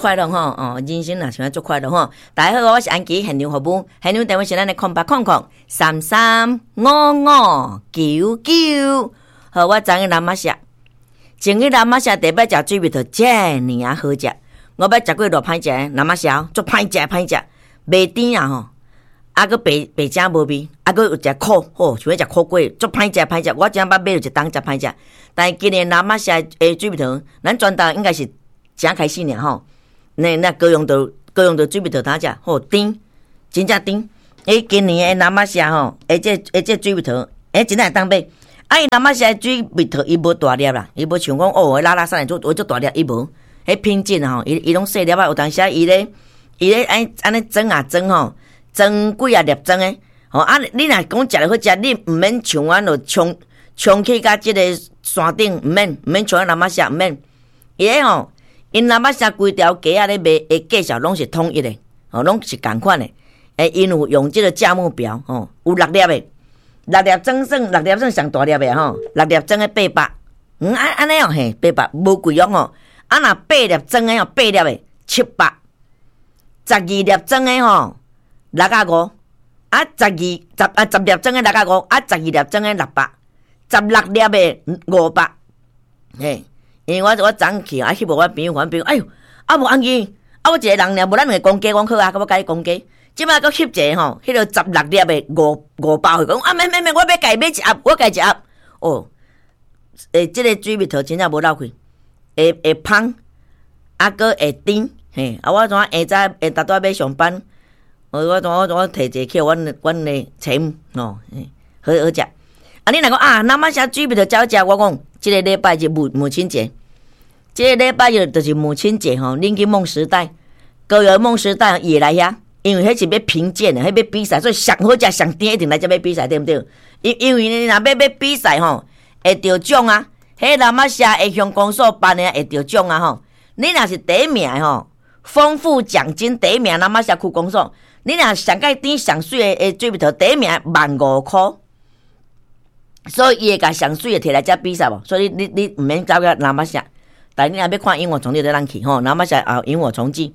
快樂吼，哦，人生若想欲足快樂吼。大家好，我是安琪，現場服務，現場電話是咱的0800335599。好，我昨去那瑪夏，前去那瑪夏第一擺食水蜜桃，遮爾仔好食。我捌食過偌歹食，那瑪夏足歹食歹食，袂甜啊吼。啊，閣白白正無味，啊，閣有一苦，吼，像欲食苦果，足歹食歹食。我真捌買著一冬食歹食，但是今年那瑪夏的水蜜桃，咱全台應該是正開始爾吼。那高雄的水蜜桃通食，吼甜，真正甜。欸，今年的那瑪夏吼，欸這水蜜桃，欸，真正會當買。啊，伊那瑪夏的水蜜桃伊無大粒啦，伊無像講哦，拉拉山的做做大粒，伊無。彼品質吼，伊攏細粒仔，有當時伊咧按呢裝啊裝吼，裝幾仔粒裝的，吼啊！你若講食著好食，你毋免像阮就衝衝去共這個山頂，毋免像那瑪夏，毋免。伊咧吼，𪜶那瑪夏規條街仔咧賣的價數攏是統一的，吼，攏是仝款的。欸，𪜶有用這個價目表，吼，有六粒的，六粒裝算六粒算上大粒的吼，六粒裝的八百，按按呢哦嘿，八百無貴哦吼。啊，若八粒裝的吼，八粒的700，12粒裝的吼6啊五，啊十二十啊十粒裝的6啊五，啊12粒裝的600，16粒的500，嘿，因為我昨去啊，翕予我朋友看，朋友哎喲，啊無按呢，啊我一個人爾，無咱兩個公雞，講好啊，我共你公雞。這擺閣翕一個吼，彼個十六粒的五百歲，講啊免免免，我欲共買一盒，我共一盒。哦，欸，這個水蜜桃真正無落氣，會會芳，啊閣會甜，嘿，啊我怎下早下晡拄仔欲上班，我提一个去阮的前吼，好好食。啊，你若講啊，那瑪夏水蜜桃真好食，我講這个禮拜日母親節，這个禮拜日就是母親節吼，恁去夢時代，高雄夢時代伊會來遐。因為彼是欲評鑑的，彼欲比賽，所以上好食上甜一定來遮欲比賽，對毋對？因為你若欲比賽吼，會得獎啊！彼那瑪夏的鄉公所辦的會得獎啊吼！你若是第一名吼，豐富獎金第一名，那瑪夏區公所，你若上蓋甜上媠的水蜜桃第一名15,000箍，所以伊會共上媠的提來遮比賽無？所以你毋免走去那瑪夏，但你若欲看螢火蟲，你就通去吼，那瑪夏啊螢火蟲季。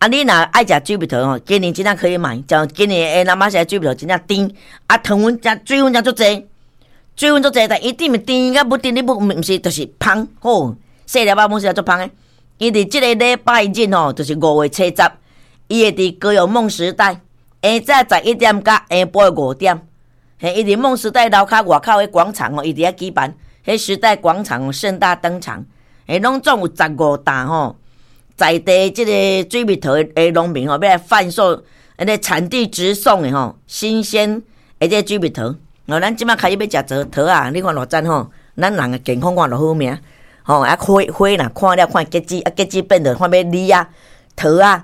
啊！你若愛食水蜜桃吼，今年真正可以買。像今年的那瑪夏水蜜桃真正甜，啊，糖分誠水分誠足濟，水分足濟，但伊甜毋甜甲不甜，你不毋是就是芳吼，細粒仔攏是足芳的。伊佇這個禮拜日吼，就是5月初十，伊會佇高雄夢時代，下早11點佮下晡5點，嘿，伊佇夢時代樓跤外口的廣場吼，伊佇遐舉辦，彼時代廣場盛大登場，嘿，攏總有十五擔吼。在地這個水蜜桃的農民吼，欲來販售，彼个產地直送的吼，新鮮的這個水蜜桃。哦，咱這馬開始欲食桃桃仔，你看偌讚吼，咱人的健康看偌好命，吼啊花花若看了看結籽，啊結籽變做看欲李仔、桃仔、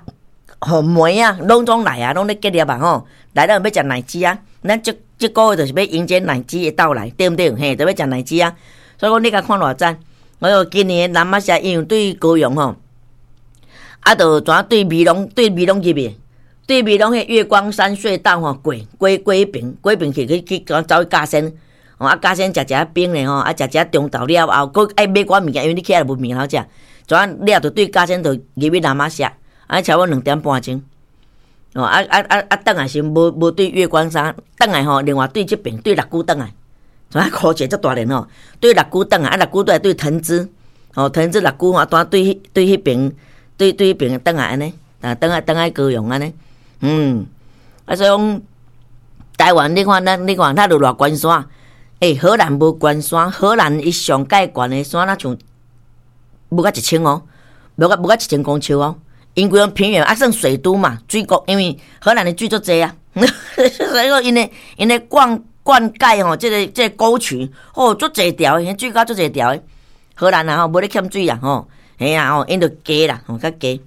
吼梅仔，攏總來啊，攏咧結粒啊吼，來了欲食奶舌仔，咱這個月就是欲迎接奶舌的到來，對毋對？嘿，就欲食奶舌仔。所以講你共看偌讚，我說今年那瑪夏因為對高雄吼。啊，就怎對美濃對美濃入去，對美濃彼月光山隧道吼過過過彼爿，過彼爿去去去走去甲仙，吼啊甲仙食食冰咧吼，啊食食中晝了後，閣愛買寡物件，因為你起來無物件通食，怎了就對甲仙就入去那瑪夏，啊差不多2點半鐘，哦啊啊啊啊轉來時無對月光山，轉來吼，另外對這爿對六龜轉來，怎箍一個足大輪吼，對六龜轉來，啊六龜轉來對藤枝，吼藤枝六龜吼，拄對對彼爿。對對彼爿轉來按呢，啊，轉來轉來高雄按呢，啊所以講台灣你看咱你看咱就偌懸山，欸，荷蘭無懸山，荷蘭伊上蓋懸的山若像無甲1000哦，無甲1000公尺哦，𪜶規個平原啊算水都嘛，水國，因為荷蘭的水足濟啊，所以講𪜶的灌溉吼，這個溝渠哦足濟條的，水溝足濟條的，荷蘭啊吼無咧欠水啊吼。嘿啊吼，𪜶就低啦，吼較低。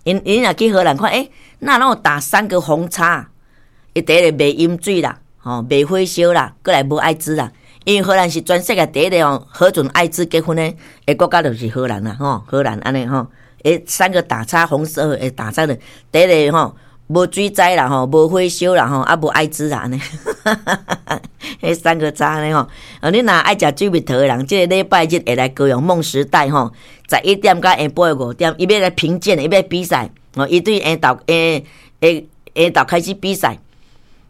𪜶若去荷蘭看，欸，哪攏有打三個紅叉？伊第一個袂飲水啦，吼袂火燒啦，閣來無愛滋啦。因為荷蘭是全世界第一個吼核准艾滋結婚的國家，就是荷蘭啦，吼荷蘭按呢吼。欸，三個打叉紅色的打叉的，第一個吼無水災啦吼，無火燒啦吼，啊無愛滋啦按呢，彼三個叉呢吼。啊，你若愛食水蜜桃的人，這个禮拜日會來高雄夢時代吼，11點到下晡的5點，伊欲來評鑑，伊欲比賽，哦，伊對下晝下下下晝開始比賽，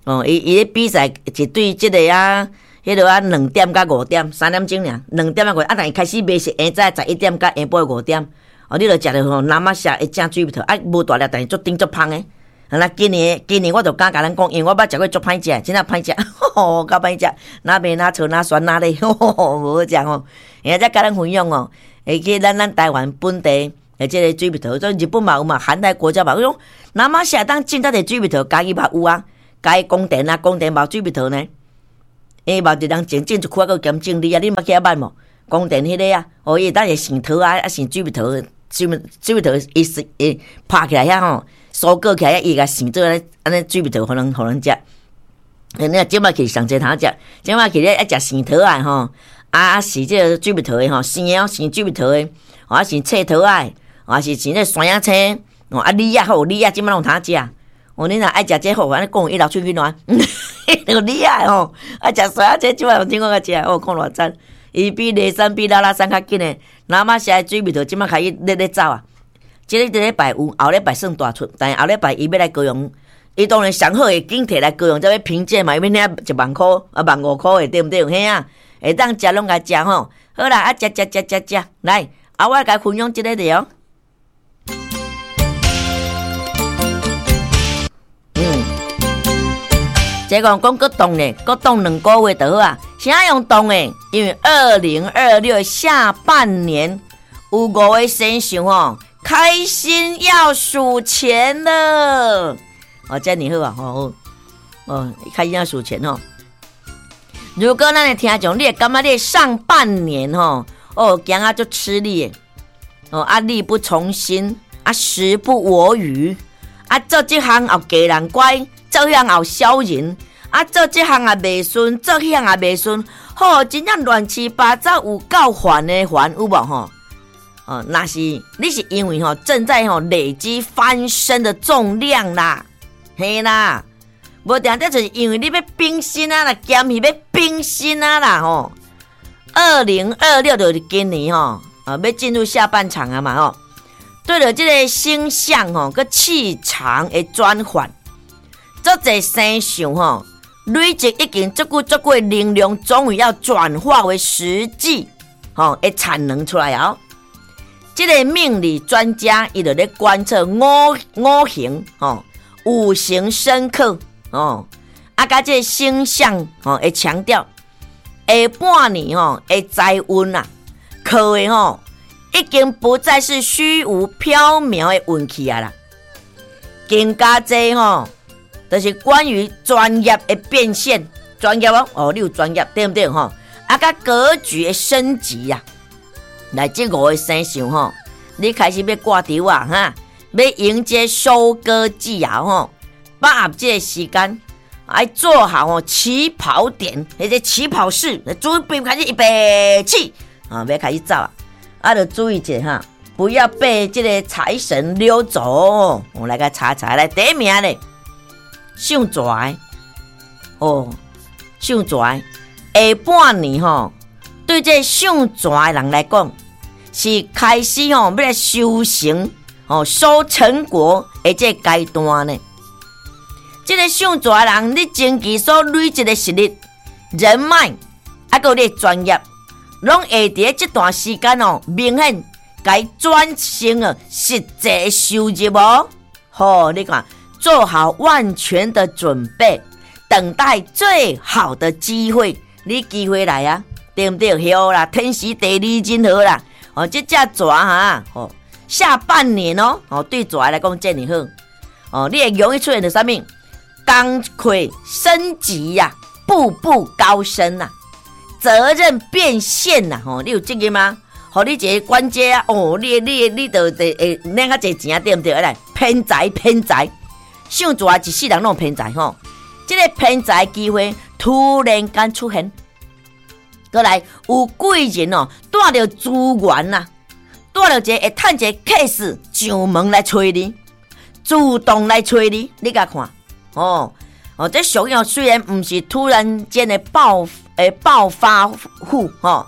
哦，伊伊咧比賽是對這个啊，彼落啊2點到5點，3點鐘爾，兩點啊五，啊，但伊開始賣是下早十一點到下晡的五點，哦，你著食著吼，那瑪夏會正水蜜桃，啊，無大粒，但是足甜足芳的。啊，今年今年我就敢共咱講，因為我捌食過足歹食，真正歹食，吼，夠歹食，若味若臭若酸若咧，無好食吼。會才共咱分享哦，會記咱咱台灣本地的這个水蜜桃，這日本嘛有嘛，寒帶國家嘛有種，那瑪夏當種遮濟水蜜桃，嘉義嘛有啊，嘉義宮殿啊，宮殿嘛有水蜜桃呢。伊嘛一人種種一區啊，閣兼種李啊，你捌去遐捌無？宮殿彼个啊，哦，伊會當會生桃啊，啊生水蜜桃，水蜜水蜜桃伊是會拍起來遐吼。收割起來，伊共生做按呢水蜜桃，予人予人食。你這擺去上濟通食，這擺去咧愛食生桃仔吼，啊是這个水蜜桃的吼，生的哦，生水蜜桃的，啊是脆桃仔，啊是生這山仔青，哦啊李仔好，李仔這擺攏有通食。哦，你若愛食這好，按呢講一流喙去爛，那個李仔吼，愛食山仔青，這擺有聽講較食，哦，看偌讚。伊比梨山比拉拉山較緊的，那瑪夏的水蜜桃這擺開始咧咧走啊。這個禮拜有，後禮拜算大出，但是後禮拜伊欲來高雄，伊當然上好會緊提來高雄，才欲評鑑嘛，伊欲領1萬箍啊，1.5萬的對毋對？嘿啊，會當食攏共食吼。好啦，啊食食食食食，來，啊我來分享這个著。嗯，這個講閣凍咧，閣凍2個月就好啊。啥用凍的？因為2026下半年有五个生肖吼。開心要數錢了，哦，這樣好啊，好，哦，開心要數錢哦。如果咱的聽眾，你會感覺你上半年吼，哦，行啊足吃力的，哦，啊力不從心，啊時不我與，啊做這項又給人怪，做彼項又小人，啊做這項也袂順，做彼項也袂順，吼，真正亂七八糟，有夠煩的煩，有無吼？哦，若是你是因為吼正在吼累積翻身的重量啦，嘿啦，無定這就是因為你欲變身啊啦，兼是欲變身啊啦吼。2026就是今年吼，啊，欲進入下半場啊嘛吼。對著這个星象吼，佮氣場的轉換，足濟生肖吼，累積已經足久足久的能量，終於要轉化為實際吼的產能出來啊！這个命理專家伊就咧觀測五五行吼，五行生剋哦，啊，佮這个星象吼會強調下半年吼的財運啊，靠的吼已經不再是虛無縹緲的運氣啊啦，更加濟吼，就是關於專業的變現，專業哦，哦，你有專業對毋對吼？啊，佮格局的升級啊。來，這五个生肖吼，你開始欲掛稻啊，哈，欲迎接收割季啊，吼，把握這个時間，愛做好吼起跑點，彼个起跑式，準備開始預備起，啊，欲開始走啊，啊，著注意一下哈，不要被這个財神溜走。我來共查查來，第一名咧，屬蛇的，哦，屬蛇的，下半年吼。對這屬蛇的人來講，是開始吼欲來修成吼收成果的這個階段呢。這个屬蛇的人，你前期所累積的實力、人脈，啊，閣有你的專業，攏會佇這段時間哦，明顯共轉成了實際收入哦。好，你看，做好萬全的準備，等待最好的機會，你機會來啊！對毋對？好啦，天時地利人和啦。哦，這隻蛇哈，哦，下半年哦，哦，對蛇來講這爾好。哦，你會容易出現著啥物？工課升級呀，步步高升呐，責任變現呐。吼，你有責任嗎？予你一個官階啊，哦，你你你就會會領較濟錢啊，對毋對？來，偏財偏財，屬蛇一世人攏偏財吼。這个偏財機會突然間出現。閣來有貴人哦，帶著資源呐，帶著一个會趁一个 case 上門來揣你，主動來揣你，你共看，哦哦，這俗語雖然毋是突然間的暴發戶吼，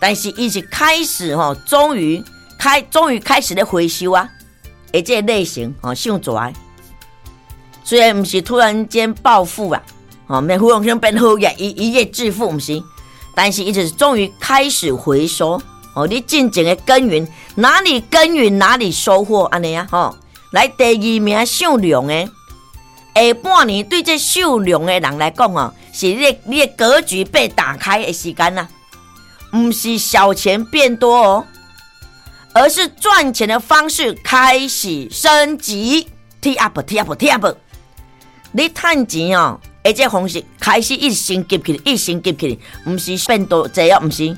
但是伊是開始吼，終於開始咧回收啊，的這個類型吼，傷濟。雖然毋是突然間暴富啊，吼，免忽然間變好額，一夜致富毋是，但是伊就是終於開始回收。哦，你進前的耕耘，哪裡耕耘哪裡收穫，按呢啊，吼。來第二名屬龍的，下半年對這屬龍的人來講哦，是你的格局被打開的時間啊，毋是小錢變多哦，而是賺錢的方式開始升級，提 up 提 up 提 up。你趁錢哦，的這方式開始一直升級起來，一直升級起來，毋是變多濟哦，毋是。